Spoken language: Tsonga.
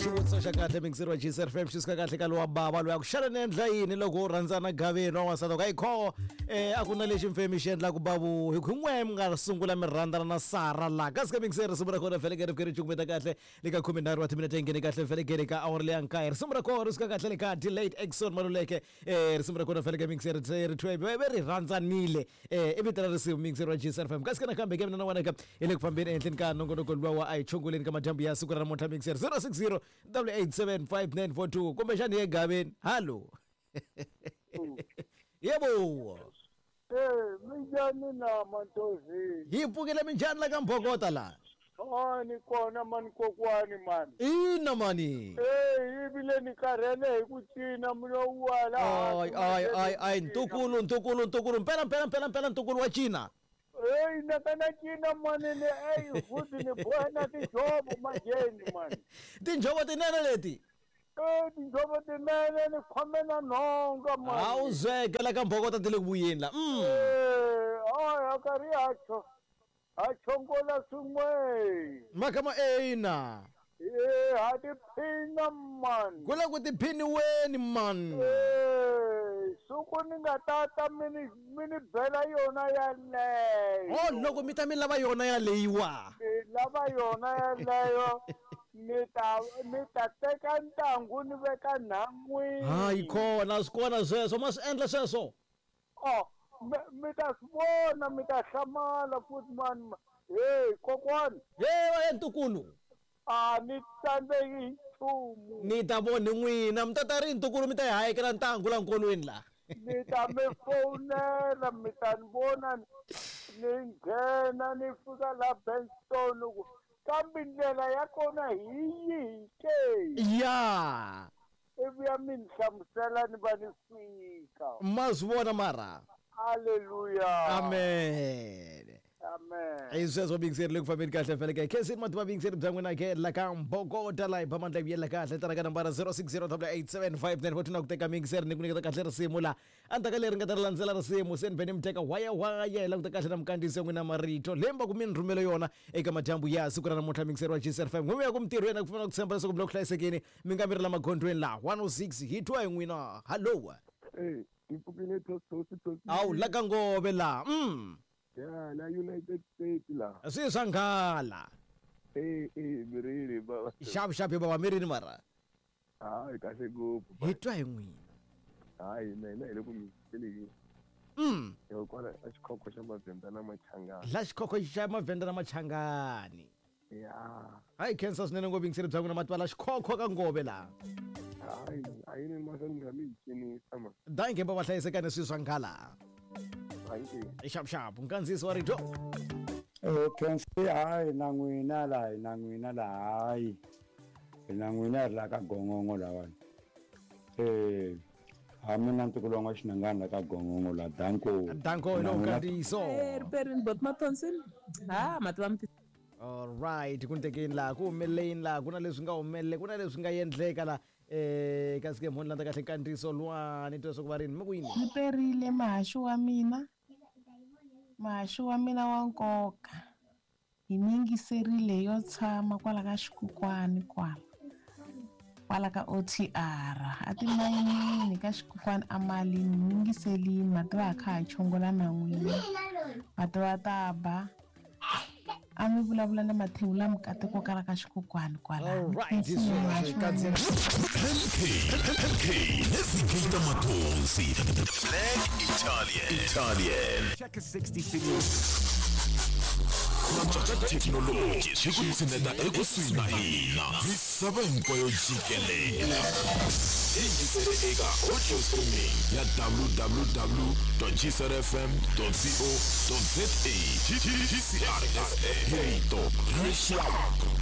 Xivutiso xa kahle mingiseri wa GCR FM xi suka kahle ka lowa bava loyi a ku xana ni endla yini loko u rhandzana gaveni wa n'wansati ka yikho a ku na lexi mfemi xi endlaku bavu hi ku n'we mi nga sungula mi rhandzana na Sara laha kasi ka mingiseri risimu ra kona vhele ri fike ri cukumeta kahle le ka 13 wa timinete yi nghene kahle vhele ka awara leya nkaye risimu ra kona ri suka kahle le ka Delayed Exxon Maluleke risimu ra kona vhele ka mingiseri ri thwe ve ri rhandzanile i vito ra risimu mingiseri wa GCR FM kasi ka nakambe ke mina na wena ka hi le ku fambeni ehenhleni ka nongonoko luwa wa a hi chongoleni ka madyambu ya siku ra namuntlha mingiseri 060 887 5942 kumbexani ye gaveni hallo yebo. Eh, minjhani na Mantozini? Hi pfukile minjhani la ka Mbhokota la? Ah, ni kona mani kokwani mani. Ina mani. Eh, ivile ni karhele hi ku cina mi lo wa laha. Ay ay ay ay ntukulu ntukulu ntukulu mpela mpela mpela mpela ntukulu wa cina. Hey, na ka na cina mani ni ey futhi ni boha na tinjhovo manjheni mani. Tinjhovo tinene leti. Eh, tinjhovo tinene ni khome na nhonga mani. A wu zweke la ka Mbhokota ti le ku vuyeni la. Eh, ay a karhi ha cho ha chongola swin'we. Makama ina. Eh, ha tiphina mani. Ku le ku tiphiniweni man. Eh, siku ni nga tata mi ni mi ni bela yona yaleyo. Oh, loko mi ta mi lava yona yaleyiwa. Mi lava yona yaleyo ni ta ni ta teka ntangu ni veka nhan'wini. Hayi khona swi kona sweswo ma swi endla sweswo. Oh, mi mi ta swi vona mi ta hlamala futhi mani. Hey, kokwani. Hey, ntukulu. A ni tsandzeki hi nchumu. Ni ta vona n'wina mi ta ta ri ntukulu mi ta yi hayekela ntangu la nkolweni la. Ni ta mi fowunela mi ta ni vona ni nghena ni fika la Benstone ku kambe ndlela ya kona hi yihi ke? Ya. Ivi ya mi ni hlamusela ni va ni fika. Ma swi vona mara. Haleluya. Amen. Amen. Hi sweswo bingiseri le ku fambeni kahle fele ke khensini mativa bingiseri bya n'wina ke la ka Mbhokota la hi ba mandla vuyela kahle tana ka nambara 0608875942 na ku teka mingiseri ni ku nyiketa kahle risimu la endzhaku ka leri nga ta ri landzela risimu se ni vhe ni mi teka waya waya hi languta kahle na mukandziyisi ya n'wina marito leyi mi va ku mi ni rhumele yona eka madyambu ya siku ra namuntlha mingiseri wa GCR 5 n'wina ya ku mintirhweni ku fana ku tshemba leswaku mi le ku hlayisekeni mi nga mi ri la magondzweni la 106 hi twa hi n'wina hallo. Hey, ni pfukile tosi tosi. Awu la ka Ngove la. Ya, la United States la. Swi swa nghala. Eh, eh, mirini baba. Xapu xapu baba mirini mara. Hayi kahle ngopfu. Hi twa hi n'wina. Hayi mina hi le ku mi felekeni. Hi kwala a xikhokho xa Mavhenda na Machangani. La xikhokho xa Mavhenda na Machangani. Ya. Hayi khensa swinene ngopfu yingiseri bya n'wina mativa la xikhokho ka Ngove la. Hayi, a yi ni mahlweni nga mi cinisa ma. Dankie baba hlayisekani swi swa nghala. Dankie. Xapu xapu nkandziyiso wa rito. Khensi hayi na n'wina la hi na n'wina la hayi hi na n'wina ri la ka gongongo lawani ha mina ntukulu wa n'waxinangani la ka gongongo la danko. Danko hi lowu nkandziyiso. Riperini bot Mathonsi ha mativa mi Alright ku tekeni laha ku humeleleni laha ku na leswi nga humelele ku na leswi nga endleka la kasi ke mhoni landza kahle nkandziyiso luwani twa leswaku va rini mi ku yini. Riperile muhaxi wa mina muhaxi wa mina wa nkoka hi ni yingiserile yo tshama kwala ka xikukwani kwala kwala ka OTR a timayinini ka xikukwani a malini ni yingiselini mativa ha kha ha chongola na n'wina mativa ta ba a mi vulavula na mathewula mukateko kala ka xikukwani kwala. Alright, sweswi kandziyela MK MK Navigator Mathonsi Black Italian Italian Check a 66. Thekinoloji swi ku tshineta ekusuhi na hina misava hinkwayo jikelele yingisele eka audio streaming ya www.gcrfm.co.za GCRFM hi rito ra rixaka.